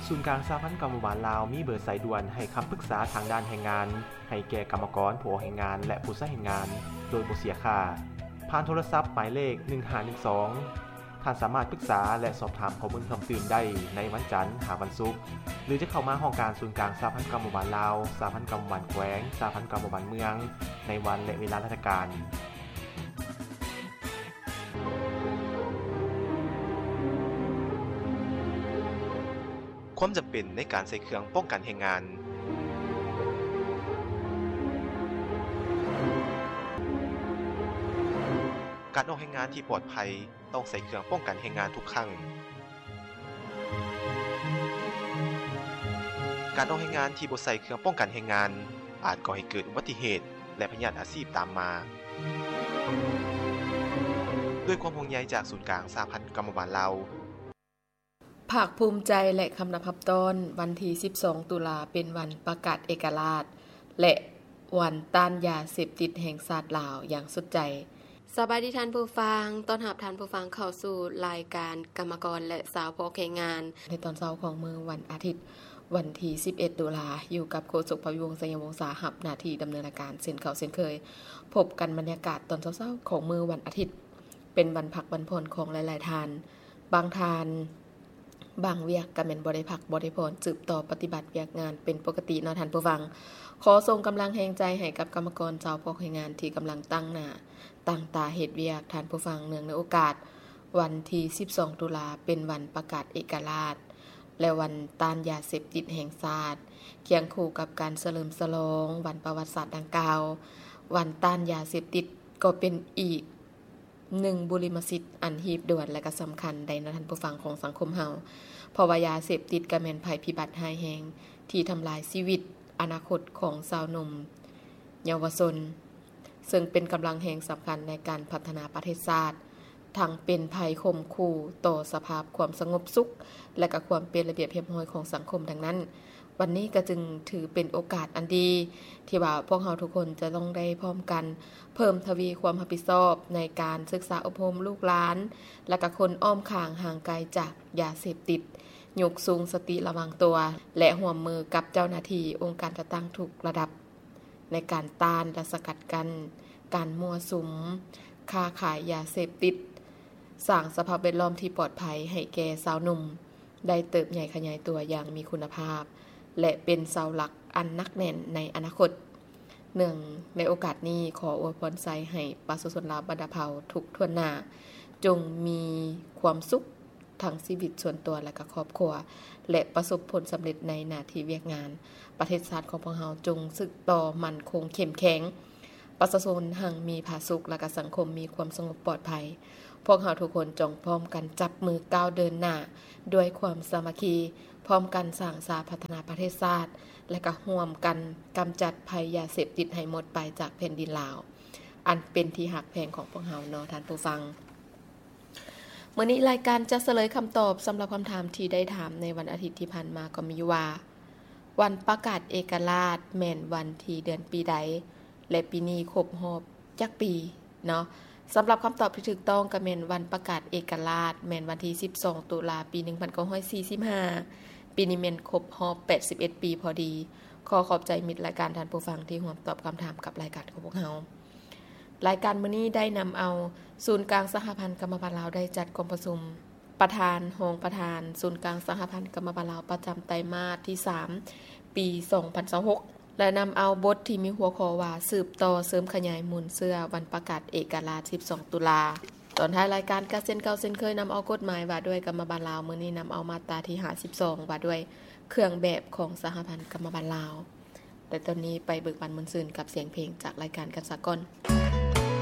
ສູນກາງສະຫະພັນກຳມະບານລາວມີເບີສາຍດ່ວນໃຫ້ຄຳປຶກສາທາງດ້ານແຮງງານ ໃຫ້ແກ່ກຳມະກອນ, ຜູ້ອອກແຮງງານ ແລະ ຜູ້ໃຊ້ແຮງງານ ໂດຍບໍ່ເສຍຄ່າ ຜ່ານໂທລະສັບໝາຍເລກ ໜຶ່ງຫ້າໜຶ່ງສອງ. ທ່ານສາມາດປຶກສາ ແລະ ສອບຖາມຂໍ້ມູນເພີ່ມຕື່ມໄດ້ໃນວັນຈັນຫາວັນສຸກ ຫຼື ຈະເຂົ້າມາຫ້ອງການສູນກາງສະຫະພັນກຳມະບານລາວ, ສະຫະພັນກຳມະບານແຂວງ, ສະຫະພັນກຳມະບານເມືອງ ໃນວັນ ແລະ ເວລາລາຊະການ. ຄວາມຈຳເປັນໃນການໃສ່ເຄື່ອງປ້ອງກັນແຮງງານ. ການອອກແຮງງານທີ່ປອດໄພ ຕ້ອງໃສ່ເຄື່ອງປ້ອງກັນແຮງງານທຸກຄັ້ງ. ການອອກແຮງງານທີ່ບໍ່ໃສ່ເຄື່ອງປ້ອງກັນແຮງງານ ອາດກໍ່ໃຫ້ເກີດອຸບັດຕິເຫດ ແລະ ພະຍາດອາຊີບຕາມມາ. ດ້ວຍຄວາມຫ່ວງໃຍຈາກສູນກາງສະຫະພັນກຳມະບານລາວ. ພາກພູມໃຈ ແລະ ຄຳນັບຮັບຕ້ອນ ວັນທີສິບສອງ ຕຸລາ ເປັນວັນປະກາດເອກະລາດ ແລະ ວັນຕ້ານຢາເສບຕິດແຫ່ງຊາດລາວຢ່າງສຸດໃຈ. ສະບາຍດີທ່ານຜູ້ຟັງ, ຕ້ອນຮັບທ່ານຜູ້ຟັງເຂົ້າສູ່ລາຍການກຳມະກອນ ແລະ ຊາວພາກແຮງງານ ໃນຕອນເຊົ້າຂອງມື້ວັນອາທິດ ວັນທີສິບເອັດ ຕຸລາ, ຢູ່ກັບໂຄສົກ ພະວິວົງ ໄຊຍະວົງສາ ຮັບໜ້າທີ່ດຳເນີນລາຍການເຊັ່ນເກົ່າເຊັ່ນເຄີຍ. ພົບກັນບັນຍາກາດຕອນເຊົ້າໆຂອງມື້ວັນອາທິດ ເປັນວັນພັກວັນຜ່ອນຂອງຫຼາຍໆທ່ານ. ບາງທ່ານ ບາງວຽກກະແມ່ນບໍ່ໄດ້ພັກບໍ່ໄດ້ຜ່ອນ ສືບຕໍ່ປະຕິບັດວຽກງານເປັນປົກກະຕິເນາະທ່ານຜູ້ຟັງ. ຂໍສົ່ງກຳລັງແຮງໃຈໃຫ້ກັບກຳມະກອນຊາວພາກແຮງງານທີ່ກຳລັງຕັ້ງໜ້າຕັ້ງຕາເຮັດວຽກ. ທ່ານຜູ້ຟັງ, ເນື່ອງໃນໂອກາດວັນທີສິບສອງ ຕຸລາ ເປັນວັນປະກາດເອກະລາດ ແລະ ວັນຕ້ານຢາເສບຕິດແຫ່ງຊາດ, ຄຽງຄູ່ກັບການສະເຫຼີມສະຫຼອງວັນປະຫວັດສາດດັ່ງກ່າວ, ວັນຕ້ານຢາເສບຕິດກໍເປັນອີກ ໜຶ່ງບຸລິມະສິດອັນຮີບດ່ວນ ແລະ ກະສຳຄັນໄດ໋ເນາະທ່ານຜູ້ຟັງຂອງສັງຄົມເຮົາ, ເພາະວ່າຢາເສບຕິດກະແມ່ນໄພພິບັດຮ້າຍແຮງທີ່ທຳລາຍຊີວິດ, ອະນາຄົດຂອງຊາວໜຸ່ມເຍົາວະຊົນ, ເຊິ່ງເປັນກຳລັງແຮງສຳຄັນໃນການພັດທະນາປະເທດຊາດ, ທັງເປັນໄພຂົ່ມຂູ່ຕໍ່ສະພາບຄວາມສະຫງົບສຸກ ແລະ ກະຄວາມເປັນລະບຽບຮຽບຮ້ອຍຂອງສັງຄົມ. ດັ່ງນັ້ນ, ວັນນີ້ກໍຈຶ່ງຖືເປັນໂອກາດອັນດີ ທີ່ວ່າພວກເຮົາທຸກຄົນຈະຕ້ອງໄດ້ພ້ອມກັນເພີ່ມທະວີຄວາມຮັບຜິດຊອບໃນການສຶກສາອົບຮົມລູກຫຼານ ແລະ ກະຄົນອ້ອມຂ້າງຫ່າງໄກຈາກຢາເສບຕິດ, ຍົກສູງສະຕິລະວັງຕົວ ແລະ ຮ່ວມມືກັບເຈົ້າໜ້າທີ່ອົງການຈັດຕັ້ງທຸກລະດັບ ໃນການຕ້ານ ແລະ ສະກັດກັ້ນການມົ້ວສຸມຄ້າຂາຍຢາເສບຕິດ, ສ້າງສະພາບແວດລ້ອມທີ່ປອດໄພໃຫ້ແກ່ຊາວໜຸ່ມ ໄດ້ເຕີບໃຫຍ່ຂະຫຍາຍຕົວຢ່າງມີຄຸນນະພາບ ແລະ ເປັນເສົາຫຼັກອັນໜັກແໜ້ນໃນອະນາຄົດ. ເນື່ອງໃນໂອກາດນີ້, ຂໍອວຍພອນໄຊໃຫ້ປະຊາຊົນລາວບັນດາເຜົ່າທຸກຖ້ວນໜ້າ ຈົ່ງມີຄວາມສຸກທັງຊີວິດສ່ວນຕົວ ແລະ ກະຄອບຄົວ ແລະ ປະສົບຜົນສຳເລັດໃນໜ້າທີ່ວຽກງານ. ປະເທດຊາດຂອງພວກເຮົາຈົ່ງສືບຕໍ່ໝັ້ນຄົງເຂັ້ມແຂງ. ປະຊາຊົນຮັ່ງມີຜາສຸກ ແລະ ກະສັງຄົມມີຄວາມສະຫງົບປອດໄພ. ພວກເຮົາທຸກຄົນຈົ່ງພ້ອມກັນຈັບມືກ້າວເດີນໜ້າດ້ວຍຄວາມສາມັກຄີ, ພ້ອມກັນສ້າງສາພັດທະນາປະເທດຊາດ ແລະ ກະຮ່ວມກັນກຳຈັດໄພຢາເສບຕິດໃຫ້ໝົດໄປຈາກແຜ່ນດິນລາວ ອັນເປັນທີ່ຮັກແພງຂອງພວກເຮົາເນາະທ່ານຜູ້ຟັງ. ມື້ນີ້ລາຍການຈະສະເຫຼີຍຄຳຕອບສຳລັບຄຳຖາມທີ່ໄດ້ຖາມໃນວັນອາທິດທີ່ຜ່ານມາກໍມີຢູ່ວ່າ ວັນປະກາດເອກະລາດແມ່ນວັນທີເດືອນປີໃດ ແລະ ປີນີ້ຄົບຮອບຈັກປີເນາະ? ສຳລັບຄຳຕອບທີ່ຖືກຕ້ອງກໍແມ່ນວັນປະກາດເອກະລາດແມ່ນວັນທີສິບສອງ ຕຸລາ ປີໜຶ່ງພັນເກົ້າຮ້ອຍສີ່ສິບຫ້າ, ປີນີ້ແມ່ນຄົບຮອບແປດສິບເອັດປີພໍດີ. ຂໍຂອບໃຈມິດລາຍການທ່ານຜູ້ຟັງທີ່ຮ່ວມຕອບຄຳຖາມກັບລາຍການຂອງພວກເຮົາ. ລາຍການມື້ນີ້ໄດ້ນຳເອົາສູນກາງສະຫະພັນກຳມະບານລາວໄດ້ຈັດກອງປະຊຸມ ປະທານ, ຮອງປະທານສູນກາງສະຫະພັນກຳມະບານລາວປະຈຳໄຕມາດທີສາມ ປີສອງພັນຊາວຫົກ ແລະ ນຳເອົາບົດທີ່ມີຫົວຂໍ້ວ່າ ສືບຕໍ່ເສີມຂະຫຍາຍມູນເຊື້ອວັນປະກາດເອກະລາດສິບສອງ ຕຸລາ. ຕອນທ້າຍລາຍການກໍເຊັ່ນເກົ່າເຊັ່ນເຄີຍ ນຳເອົາກົດໝາຍວ່າດ້ວຍກຳມະບານລາວ, ມື້ນີ້ນຳເອົາມາດຕາທີຫ້າສິບສອງ ວ່າດ້ວຍເຄື່ອງແບບຂອງສະຫະພັນກຳມະບານລາວ. ແຕ່ຕອນນີ້ໄປເບີກບານມ່ວນຊື່ນກັບສຽງເພງຈາກລາຍການກັນສາກ່ອນ.